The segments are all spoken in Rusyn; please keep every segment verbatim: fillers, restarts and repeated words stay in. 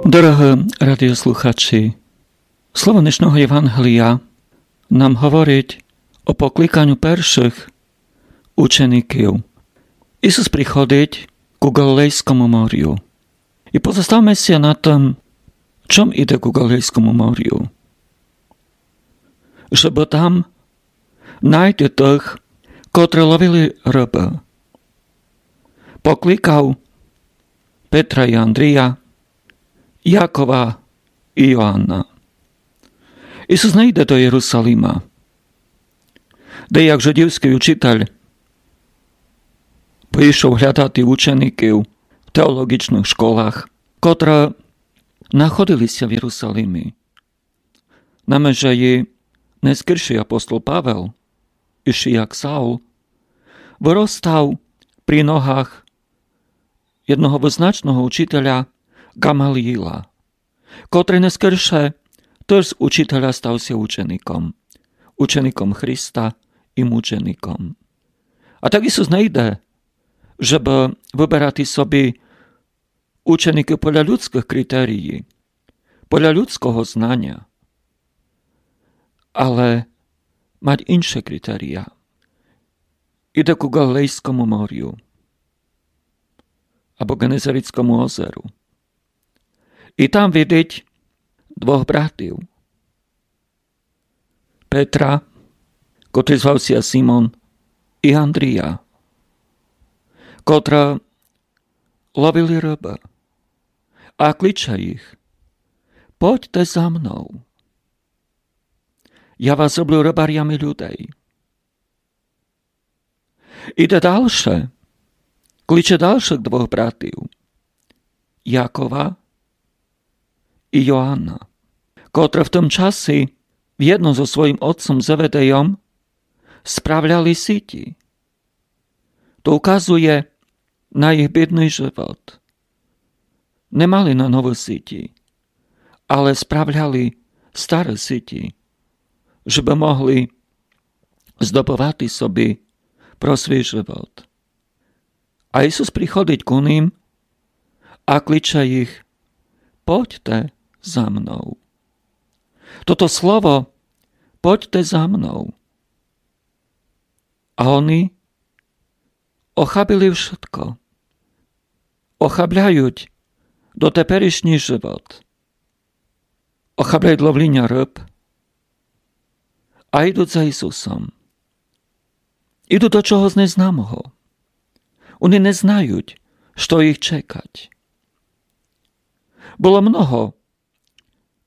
Дорогы радіослухачі, слово днешнього Євангелія нам говорить о покликаню першых учеників. Ісус приходить ку Галилейскому морю. І позоставме ся на тым, чом іде ку Галилейскому морю. Жебы там найти тых, котры ловили рыбы. Покликав Петра і Андрія, Якова і Йоанна. Ісус не йде до Єрусалима, де як жидівскый учитель пішов глядати учеників в теологічных школах, котры находили ся в Єрусалимі. Наме же і нескоршый апостол Павел, іщи як Саул, выростав при ногах єдного визначного учителя Ґамаліїла, котрый нескорше тыж з учителя став ся учеником, учеником Христа і мучеником. А так Ісус не йде, жебы выберати собі ученикы поля людскых критерій, поля людского знаня, але мать інше критерія. Іде ку Галилейскому морю або Ґенезарецкому озеру. І там видить двох братів. Петра, котрый звав ся Симон, і Андрія, котры ловили рыбы. А кличе їх: «Пойдьте за мнов. Я вас зроблю рыбарями людей». Іде дальше, кличе дальшых двох братів, Якова і Йоанна, котры в тым часі вєдно зо своїм отцом Зеведейом справляли сіті. То указує на їх бідный живот. Не мали на новы сіті, але справляли стары сіті, жебы могли здобывати собі про свій живот. А Ісус приходить ку ним а кличе їх: «Пойдьте за мнов». Тото слово «Пойдьте за мнов». А они охабили вшытко. Охабляють дотерішній живот. Охабляють ловліня рыб. А йдуть за Ісусом. Йдуть до чогось незнамого. Они не знають, што їх чекать. Было много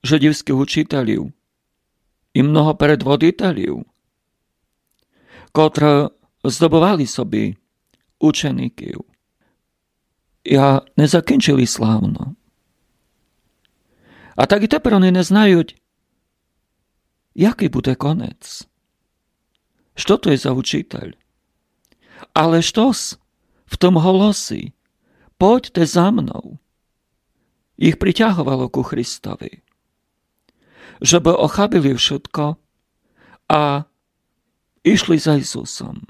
жидівскых учителів і много предводителів, котры здобывали собі учеників. А не закінчили славно. А так і тепер они не знають, якый буде конець. Што то є за учитель? Але штось в тым голосі «Пойдьте за мнов» їх притяговало ку Христови. Жебы охабили вшытко а йшли за Ісусом.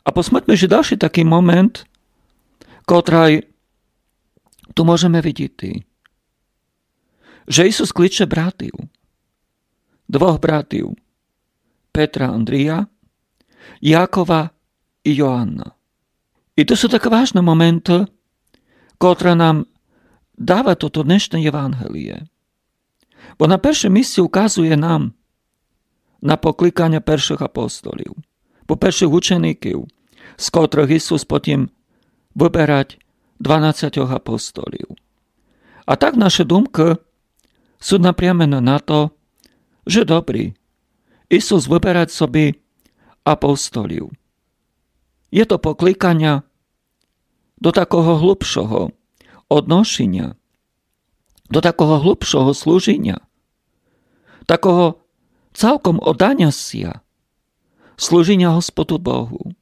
А посмотрме, же дальшый такый момент, котрый ту можеме видіти, же Ісус кличе братів, двох братів, Петра, Андрія, Якова і Йоанна. І то суть такы важны моменты, котры нам дава тото днешне Євангеліє. Бо на першым місці указує нам на покликаня першых апостолів, бо першых учеників, з котрых Ісус потім выберать дванадцятьох апостолів. А так нашы думкы суть напрямены на то, же добрі, Ісус выберать собі апостолів. Є то покликаня до такого глубшого одношіня, до такого глубшого служіня, такого цалком одданя ся, служіня Господу Богу.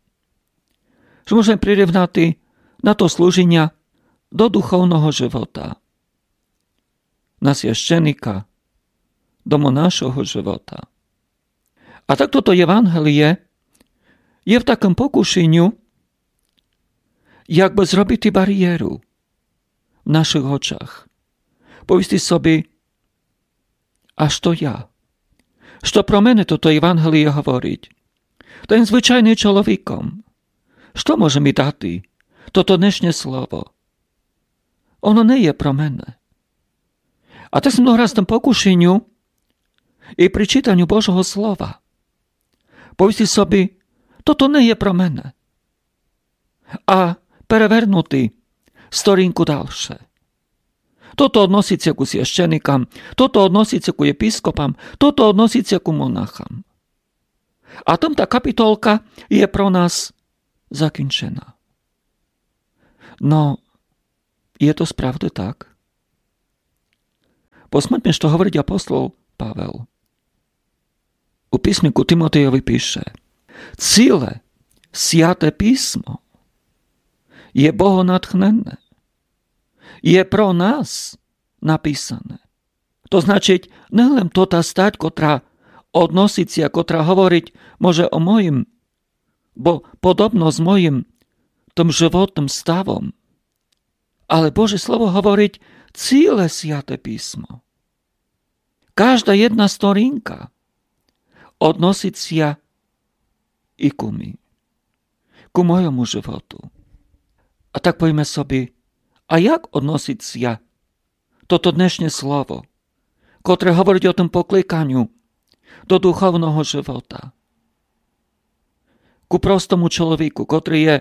Што можеме прирівнати на то служіня до духовного живота, на священика, до монашого живота. А так тото Євангеліє є в такым покушіню, якбы зробити барієру в нашых очах. Повісти собі: а што я? Што про мене тото Євангеліє говорить? Та єм звичайный чоловіком. Што може мі дати тото днешнє слово? Оно не є про мене. А так сом догарац тым покушеню і при читаню Божого слова повісти собі: тото не є про мене. А перевернути сторінку дальше. Тото односить ся ку священикам, тото односить ся ку єпископам, тото односить ся ку монахам. А тым та капітолка є про нас закінчена. Но, є то справды так? Посмотрме, што говорить апостол Павел. У писме ку Тимотейови пише: ціле Святе писмо є богонатхнене, є про нас написане. То значить, не лем тота стать, котра односить ся, котра говорить, може, о моїм, бо подобно з моїм тым животным ставом. Але Боже Слово говорить ціле Святе писмо. Кажда єдна сторінка односить ся і ку мі, ку мойому животу. А так повіме собі: а як односить ся тото днешнє слово, котре говорить о тым покликаню до духовного живота? Ку простому чоловіку, котрый є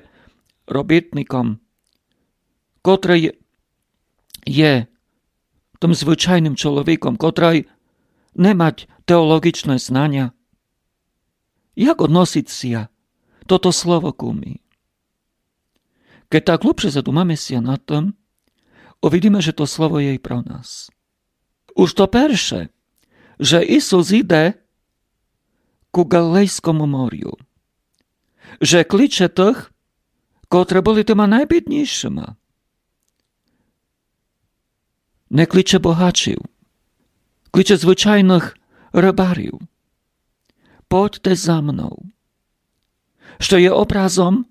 робітником, котрый є тым звичайным чоловіком, котрый не мать теолоґічне знаня. Як односить ся тото слово ку мі? Кед так глубше задумаме ся над тым, увидиме, же то слово є і про нас. Уж то перше, же Ісус іде ку Галилейскому морю, же кличе тых, котры были тыма найбіднішыма. Не кличе богачів, кличе звичайных рыбарів: подьте за мнов. Што є образом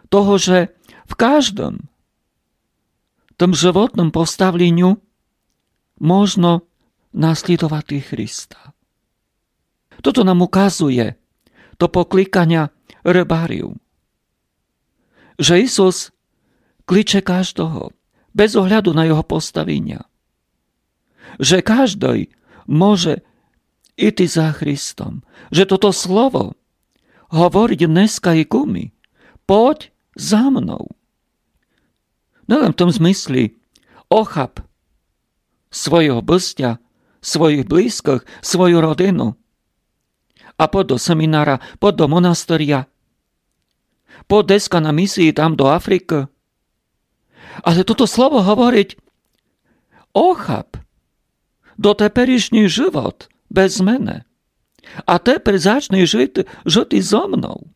того, же в каждым тым животным поставленю можно наслідовати Христа. Тото нам указує то покликаня рыбарів, же Ісус кличе каждого, без огляду на його поставіня, же каждый може іти за Христом, же тото слово говорить днеска і ку мі: подь за мнов. Не лем в тым змыслі: охап свойого быстя, своїх близькых, свою родину, а подь до семінара, подь до монастыря, подь деска на місії там до Африкы. Але тото слово говорить: охап дотеперішній живот без мене, а тепер зачни жыти, жыти зо мнов.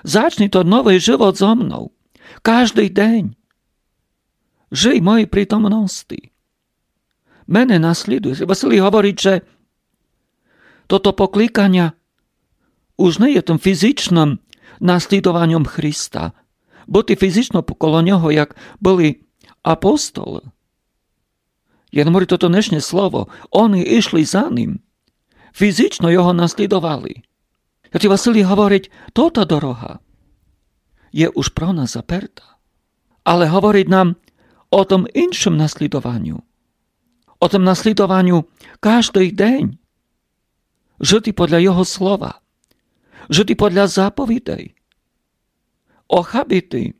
Зачни тот новый живот зо мнов. Каждый день жый в моїй притомности. Мене наслідуй. Василій говорить, же тото покликаня уж не є тым фізичным наслідованьом Христа, быти фізично коло нього, як были апостолы. Єдно говорить тото днешнє слово: они ішли за ним, фізично його наслідовали. Святый Василій говорить, тота дорога є уж про нас заперта. Але говорить нам о тым іншым наслідованю. О тым наслідованю каждый день жыти подля його слова, жыти подля заповідей, охабити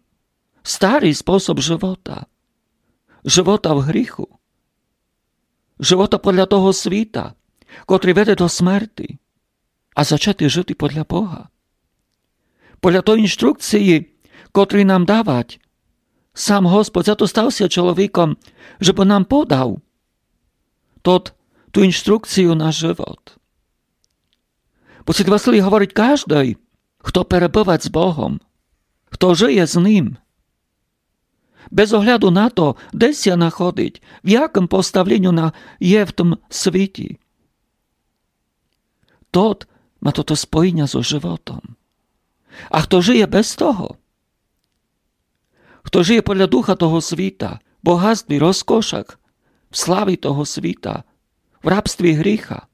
старый способ живота, живота в гріху, живота подля того світа, котрый веде до смерти, а зачати жыти подля Бога. Подля той інструкції, котру нам давать сам Господь, зато став ся чоловіком, жебы нам подав тот, ту інструкцію на живот. Бо святый Василій говорить, каждый, хто перебывать з Богом, хто жыє з ним, без огляду на то, де ся находить, в якым поставленю на, є в тым світі, тот ма тото споєня зо животом. А хто жыє без того, хто жыє подля духа того світа, богатстві, розкошах, в славі того світа, в рабстві гріха.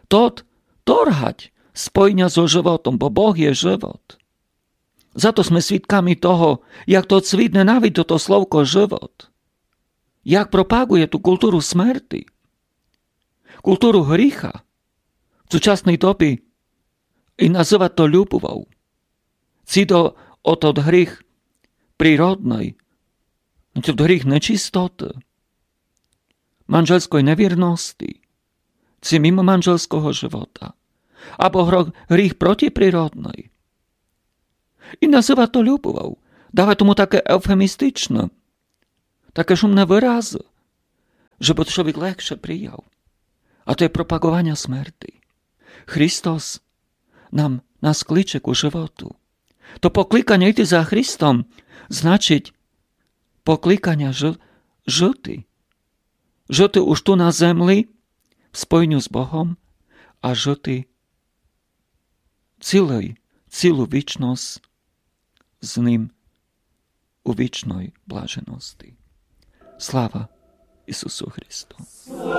Тот торгать спойня зо животом, бо Бог є живот. Зато сьме свідками того, як тот світ ненавидить тото словко живот. Як пропагує ту културу смерти, културу гріха в сучасній добі і называть то любовов. Ци то о тот гріх природный, тот гріх нечистоты, манжельской невірности, ци мимо манжельского живота, або гро-, гріх протиприродный. І называть то любовов, давать тому таке еуфемістичне, таке шумне выразы, жебы то чоловік легше прияв. А то є пропагованя смерти. Христос нам, нас кличе ку животу. То покликаня йти за Христом значить покликаня жы-, жыти. Жыти уж ту на земли в спойню з Богом, а жыти цілый, цілу вічность з Ним у вічной блаженности. Слава Ісусу Христу!